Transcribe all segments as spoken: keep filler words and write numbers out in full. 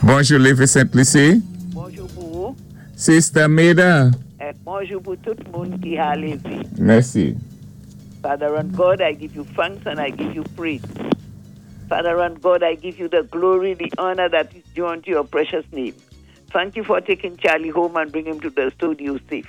Bonjou, Lévé Sainte-Lucie. Bonjou pou ou. Sister Meda. É bonjou pou tout moun ki ka lévé. Mèsi. Father and God, I give you thanks and I give you praise. Father and God, I give you the glory, the honor that is due unto your precious name. Thank you for taking Charlie home and bring him to the studio safe.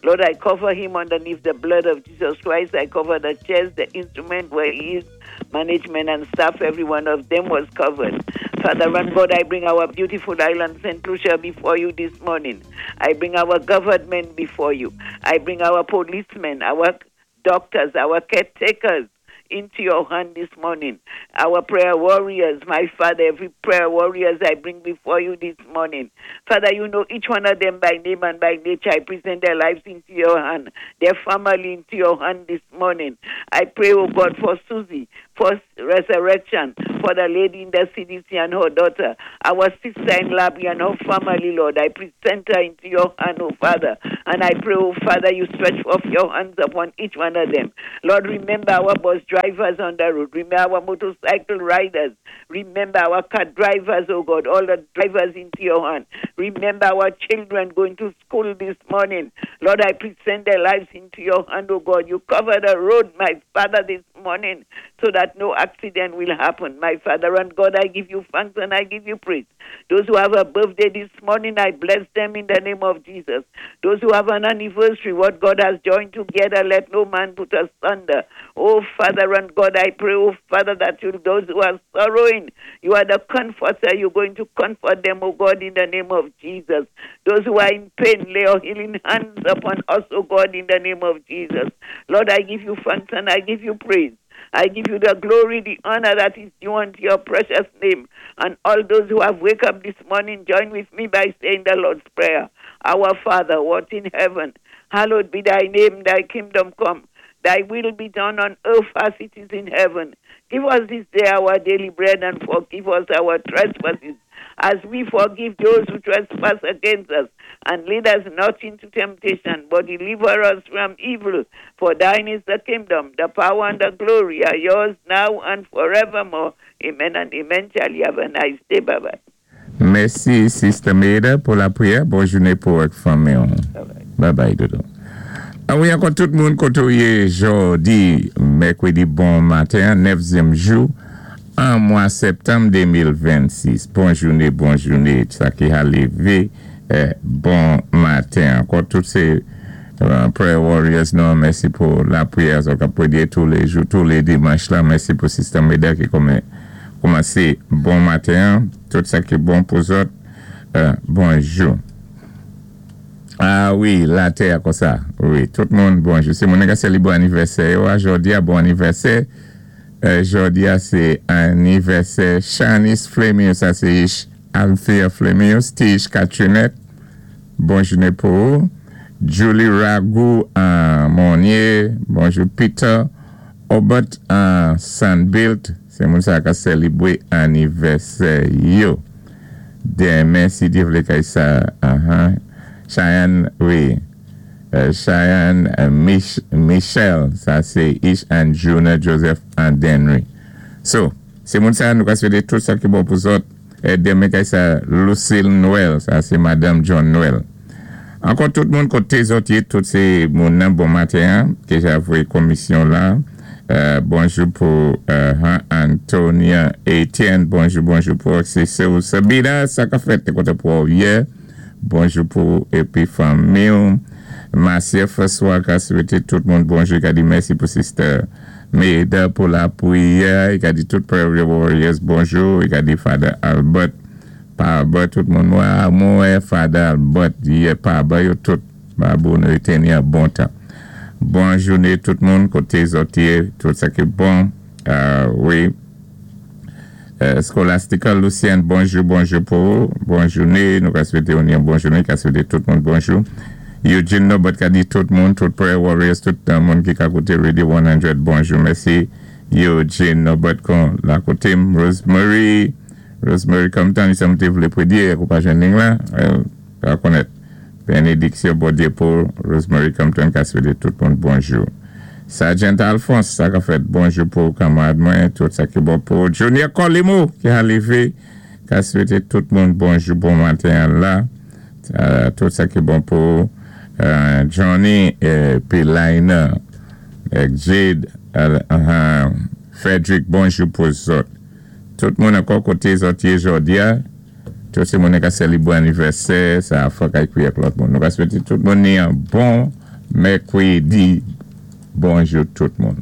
Lord, I cover him underneath the blood of Jesus Christ. I cover the chairs, the instrument where he is, management and staff, every one of them was covered. Father and God, I bring our beautiful island, Saint Lucia, before you this morning. I bring our government before you. I bring our policemen, our doctors, our caretakers into your hand this morning. Our prayer warriors, my Father, every prayer warriors I bring before you this morning. Father, you know each one of them by name and by nature. I present their lives into your hand, their family into your hand this morning. I pray, oh God, for Susie, for resurrection, for the lady in the C D C and her daughter, our sister in Labby and her family, Lord. I present her into your hand, oh Father. And I pray, oh Father, you stretch forth your hands upon each one of them. Lord, remember our bus drivers on the road. Remember our motorcycle riders. Remember our car drivers, oh God, all the drivers into your hand. Remember our children going to school this morning. Lord, I present their lives into your hand, oh God. You cover the road, my Father, this morning so that no accident will happen. My Father and God, I give you thanks and I give you praise. Those who have a birthday this morning, I bless them in the name of Jesus. Those who have an anniversary, what God has joined together, let no man put asunder. Oh, Father and God, I pray, oh, Father, that you, those who are sorrowing, you are the comforter. You're going to comfort them, oh God, in the name of Jesus. Those who are in pain, lay your healing hands upon us, oh God, in the name of Jesus. Lord, I give you thanks and I give you praise. I give you the glory, the honor that is due unto your precious name. And all those who have wake up this morning, join with me by saying the Lord's Prayer. Our Father, who art in heaven, hallowed be thy name, thy kingdom come. Thy will be done on earth as it is in heaven. Give us this day our daily bread and forgive us our trespasses as we forgive those who trespass against us. And lead us not into temptation, but deliver us from evil. For thine is the kingdom, the power, and the glory are yours now and forevermore. Amen and amen. Charlie, have a nice day. Bye bye. Mèsi, Sister Maida, pou lapriyè. Bon jounen pou ak fanmi. Bye bye. Bye bye, dodo. A wi, ankò tout moun koté ou yé jòdi, mèkwédi bon maten, nèvyèm jou, an mwa septanm de mil vennsis. Bon jounen, bon jounen, sa ki ka lévé, eh, bon maten. Ankò tout sé euh, prayer warriors, non, mèsi pou lapriyè, sa ka pwédyé tou lé jou, tou lé dimanch la. Mèsi pou Sister Maida ki kouman koumansé bon maten, tout sa ki bon pou zòt, euh, bonjou. A wi, latè kon sa. Wi, tout moun, bonjou. Sé moun ka sélébwé anivèsè. Jòdi a bon anivèsè. Euh, jòdi a sé anivèsè Shanice Flemius, sa sé Althea Flemius, Tish Katrinet. Bon jounen pou ou. Julie Ragou an Monnier. Bonjou Peter. Obert an Sandbilt. Sé moun sa ka sélébwé anivèsè yo. Denmen, si Dye vlé kay sa. Uh-huh. Cheyenne, wi. Euh, Cheyenne euh, Mich Michel, sa sé Ish and Juna Joseph and Denry. So, sé moun sa nou ka swété tout sa ki bon pou zòt. É denmen kay sa Lucille Noël, sa sé Madame John Noël. Ankò tout moun koté zòt yé, tout sé moun nan bon maten, ke j'avoue komisyon la. Euh, bonjou pou euh, Antonia Etienne, bonjou, bonjou pou sé Sabina, sa ka fèt koté pou yè. Bonjou pou épi fanmi. Marcia François ka swété tout moun bonjou, ka di mèsi pou Sister Maida pou lapriyè, i ka di tout Prayer Warriors bonjou, i ka di Father Albert, pa Albert, tout moun mwen, mwen Father Albert, yè pa Albert, yo tout, ba bon, yo teni a bon tan. Bon jounen tout moun, koté zòt yé, tout sa ki bon, euh, wi. Euh, Scholastica Lucien, bonjou, bonjou pou ou, bon jounen, nou ka swété yon yon bon jounen, ka swété tout moun bonjou. Eugene Nobot ka di tout moun, tout Prayer Warriors, tout uh, moun ki ka kouté Radio san, bonjou, mèsi. Eugene Nobot kon la koté m, Rosemary, Rosemary Compton, sa m té vlé pwédyé, kou pa jwenn la, euh, ka konnèt. Bénédiksyon Bondyé pou Rosemary Compton ka swété tout moun bonjou. Sergeant Alphonse, sa ka fèt bonjou pou kanmarad mwen, tout sa ki bon pou Junior Colimo ki ka lévé, Ka swété tout moun bonjou, bon maten la. Euh, tout sa ki bon pou euh, Johnny épi Lina, èk Jade, euh, uh, Frederick, bonjou pou zòt. Tout moun ankò koté zòt yé jòdi-a, tout sé moun ka sélébwé anivèsè, sa fòk ay kwiyé lòt moun. Nou ka swété tout moun ni yon bon mèkwédi. Bonjou tout moun.